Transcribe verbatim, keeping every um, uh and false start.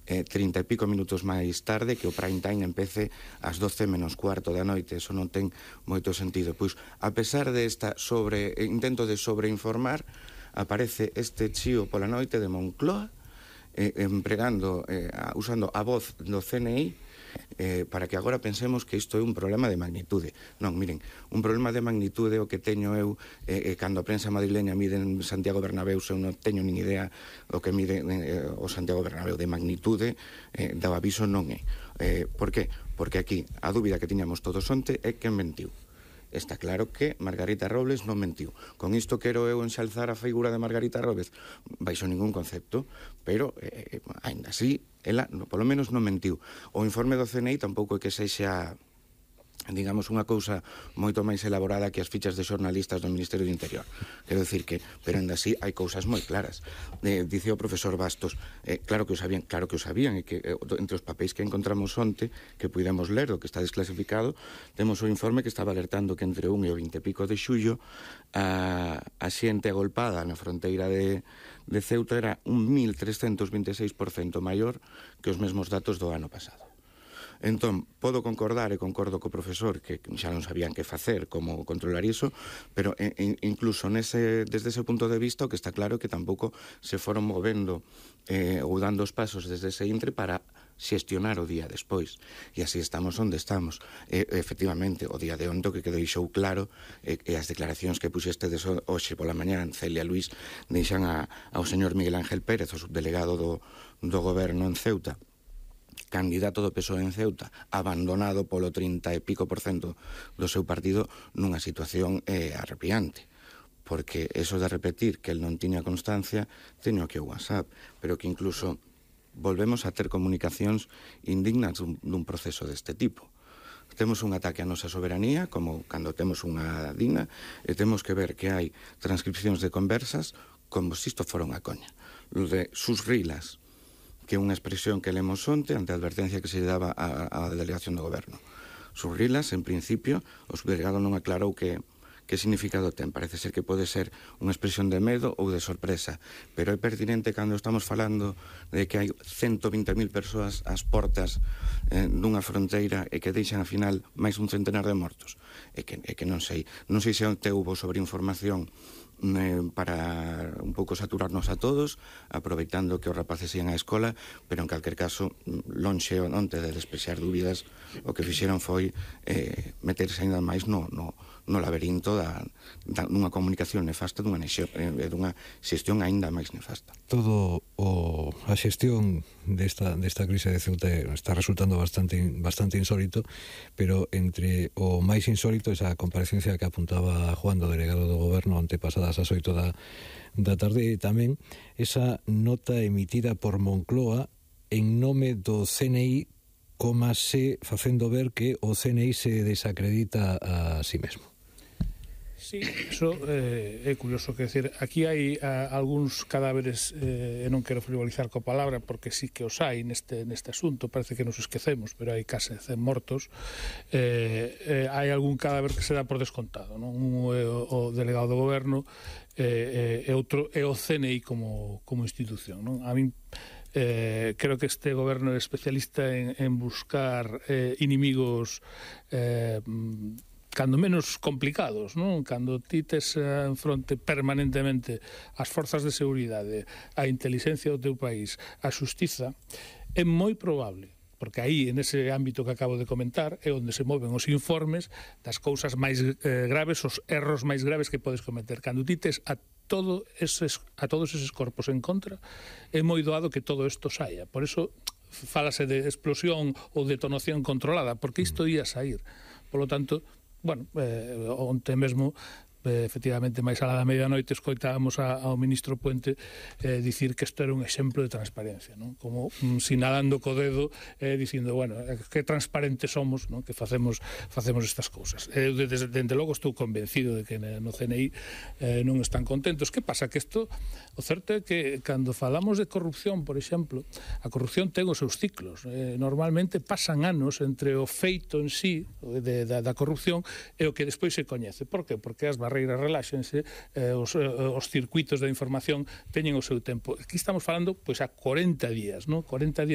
eh, trinta e pico minutos máis tarde que o prime time empece ás doce menos cuarto da noite. Eso non ten moito sentido. Pois, a pesar de esta sobre intento de sobreinformar, aparece este chío pola noite de Moncloa, eh, empregando, eh, usando a voz do C N I, eh, para que agora pensemos que isto é un problema de magnitude. Non, miren, un problema de magnitude o que teño eu, eh, eh, cando a prensa madrileña mide en Santiago Bernabéu, eu non teño nin idea o que mide eh, o Santiago Bernabéu de magnitude, eh, do aviso non é. Eh, por que? Porque aquí a dúbida que tiñamos todos onte é quen mentiu. Está claro que Margarita Robles non mentiu. Con isto quero eu enxalzar a figura de Margarita Robles baixo ningún concepto, pero, eh, ainda así, ela, no, polo menos, non mentiu. O informe do C N I tampouco é que sexa, digamos, unha cousa moito máis elaborada que as fichas de xornalistas do Ministerio do Interior. Quero dicir que, pero ainda así, hai cousas moi claras. Eh, dice o profesor Bastos, eh, claro que o sabían, claro que o sabían, e que eh, entre os papéis que encontramos onte, que pudemos ler do que está desclasificado, temos o informe que estaba alertando que entre un e o vinte e pico de xullo a, a xente agolpada na fronteira de, de Ceuta era un mil trescentos vinte e seis por cento maior que os mesmos datos do ano pasado. Entón, podo concordar e concordo co profesor que xa non sabían que facer, como controlar iso, pero in, incluso nese, desde ese punto de vista o que está claro é que tampouco se foron movendo eh, ou dando os pasos desde ese intre para xestionar o día despois. E así estamos onde estamos. E, efectivamente, o día de onte que quedou xou claro e, e as declaracións que puxestedes hoxe pola mañá, Celia Luís, deixan a, ao señor Miguel Ángel Pérez, o subdelegado do, do goberno en Ceuta, candidato do P S O E en Ceuta, abandonado polo trinta e pico por cento do seu partido nunha situación eh, arrepiante. Porque eso de repetir que el non tiña constancia, teño aquí o WhatsApp, pero que incluso volvemos a ter comunicacións indignas dun, dun proceso deste tipo. Temos un ataque á nosa soberanía, como cando temos unha digna, e temos que ver que hai transcripcións de conversas como se isto fora unha coña. Lo de sus rilas, que é unha expresión que lemos onte ante a advertencia que se daba á delegación do goberno. Surrilas, en principio, o subdelegado non aclarou que, que significado ten. Parece ser que pode ser unha expresión de medo ou de sorpresa, pero é pertinente cando estamos falando de que hai ciento vinte mil persoas ás portas eh, dunha fronteira e que deixan, ao final, máis un centenar de mortos. É que, é que non sei. Non sei se onte houbo sobreinformación para un pouco saturarnos a todos, aproveitando que os rapaces ian á escola, pero en calquer caso, lonxe onte de desprexar dúbidas, o que fixeron foi eh, meterse ainda máis no, no, no laberinto da, da, dunha comunicación nefasta, dunha, eh, dunha xestión aínda máis nefasta. Todo o, a xestión desta, desta crise de Ceuta está resultando bastante, bastante insólito, pero entre o máis insólito esa comparecencia que apuntaba Juan, do delegado do goberno, antepasada ás oito da, da tarde, e tamén esa nota emitida por Moncloa en nome do C N I, como se facendo ver que o C N I se desacredita a si mesmo. Sí, eso eh, é curioso, que decir, aquí hai a, algúns cadáveres, eh, e non quero frivolizar coa palabra, porque sí que os hai neste, neste asunto, parece que nos esquecemos, pero hai case cen mortos. Eh, eh, hai algún cadáver que se dá por descontado, non? Un é o, o delegado do goberno, eh, e outro é o C N I como, como institución, non? A min Eh, creo que este goberno é especialista en, en buscar eh, inimigos eh, cando menos complicados, non? Cando ti tes en fronte permanentemente as forzas de seguridade, a inteligencia do teu país, a xustiza, é moi probable, porque aí, en ese ámbito que acabo de comentar, é onde se moven os informes das cousas máis eh, graves, os erros máis graves que podes cometer. Cando ti tes a todo eses, a todos eses corpos en contra, é moi doado que todo isto saia. Por eso fálase de explosión ou detonación controlada, porque isto ia sair. Por lo tanto, bueno, eh, onte mesmo, eh, efectivamente, máis alá da medianoite, escoitábamos a, ao ministro Puente eh, dicir que isto era un exemplo de transparencia, non? Como mm, sinalando co dedo, eh, dicindo, bueno, que transparentes somos, non? Que facemos facemos estas cousas. Eh, desde, desde logo estou convencido de que no C N I eh, non están contentos. Que pasa? Que isto, o certo é que cando falamos de corrupción, por exemplo, a corrupción ten os seus ciclos. Eh, normalmente pasan anos entre o feito en sí de, da, da corrupción e o que despois se coñece. Por que? Porque as barreiras reláxense, eh, os, eh, os circuitos de información teñen o seu tempo. Aquí estamos falando pois a corenta días, non? corenta días